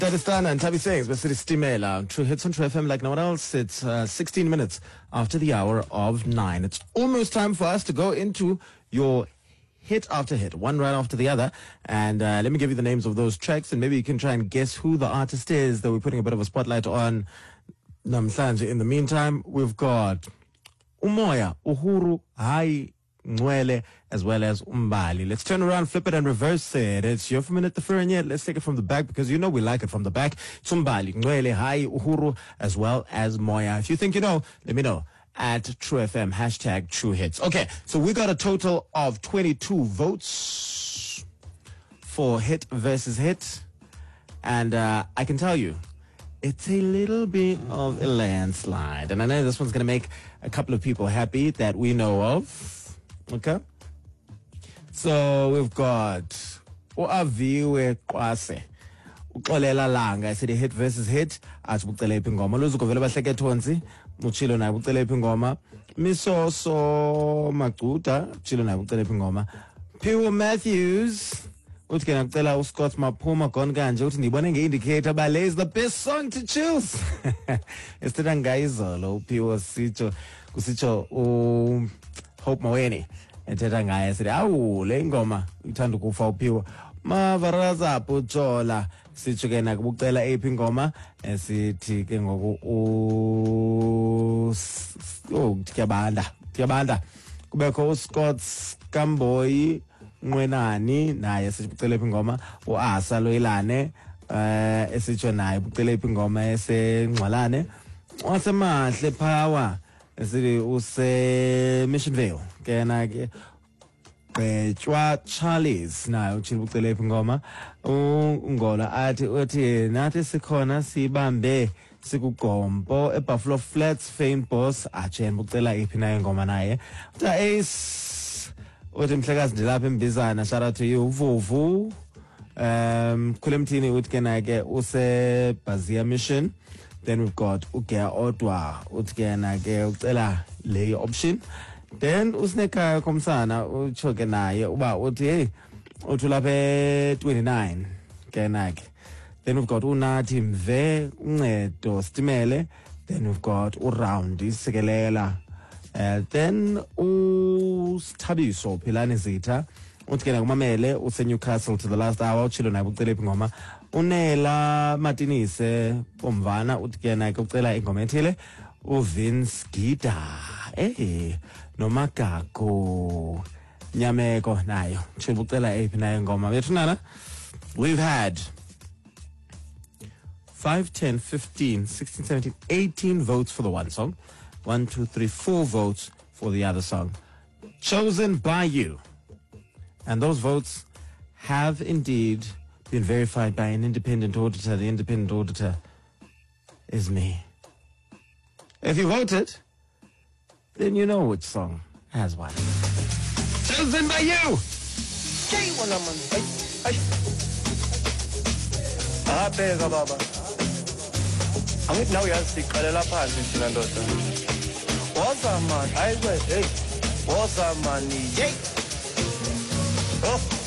Dadistana and Tabby Sings, City Stimela. True Hits on True FM like no one else. It's 16 minutes after the hour of 9. It's almost time for us to go into your hit after hit, one right after the other. And let me give you the names of those tracks, and maybe you can try and guess who the artist is that we're putting a bit of a spotlight on. Namhlanje. In the meantime, we've got Umoya, Uhuru, Hai, Nwele, as well as Umbali. Let's turn around, flip it, and reverse it. It's your minute the yet. Let's take it from the back because you know we like it from the back. It's Umbali, Nwele, Hai, Uhuru, as well as Moya. If you think you know, let me know at True FM, hashtag True Hits. Okay, so we got a total of 22 votes for hit versus hit. And I can tell you, it's a little bit of a landslide. And I know this one's going to make a couple of people happy that we know of. Okay? So we've got uAviwe Kwase. Uxolela Langa esithi hit versus hit athi bucele iphi ingoma. Luzuko vele bahleke thonsi utshilo naye bucele iphi ingoma. Misoso Macuda utshilo naye bucele iphi ingoma. Phiwo Matthews uthi ke nakucela uScott Maphuma gone kanje uthi ndiyibone nge-indicator uba le is the best song to choose. Esithetha ngayizolo uPhiwo sitsho kusitsho uHope Maweni ethetha ngaye sithi awu le ingoma ithanda ukufa uPhiwo. Mavaraza Pujola sitsho ke nakubucela eyiphi ingoma esithi ke ngoku oh kuyabanda kuyabanda kubekho uScott Kamboyi Nqwenani naye sithi bucela iphi ingoma uAsa Loyilane esitsho naye bucela iphi ingoma esengxalane wasemahle power esithi use Missionvale ke na ke Gqetshwa Charles naye utshilo bucela iphi ingoma uNgola athi uthi nathi sikhona sibambe sikugompo eBuffalo Flats Fame Boss atshen bucela iphi naye ingoma naye uthi Ace uthi mhlekazi ndilapha embizana shout out to you Vuvu Khulemthini uthi ke naye ke use Bazia Mission. Then we've got uGea Odwa uthi ke na ke ucela le option. Then uSinekhaya Komsana utsho ke naye uba uthi hey uthi ulapha e-29 ke na ke. Then we've got uNathi Mve Uncedo Stimele. Then we've got uRound Sikelela. Then uSthabiso Philani Zitha uthi ke nakumamele useNewcastle to the last hour utshilo naye bucela iphi ingoma. Unela Matinise Bomvana uthi ke naye ucela ingoma ethile. uVince Gida noMagago Nyameko nayo utshilo ucela eyiphi nayo ingoma. Bethunana, we've had 5, 10, 15, 16, 17, 18 votes for the one song. 1, 2, 3, 4 votes for the other song. Chosen by you. And those votes have indeed been verified by an independent auditor. The independent auditor is me. If you voted, then you know which song has won. Chosen by you! Abheka baba. Angithi nawe uyazi siqalela phansi thina ndoda. Woza man, hayi hey. Woza man, hey. Oh.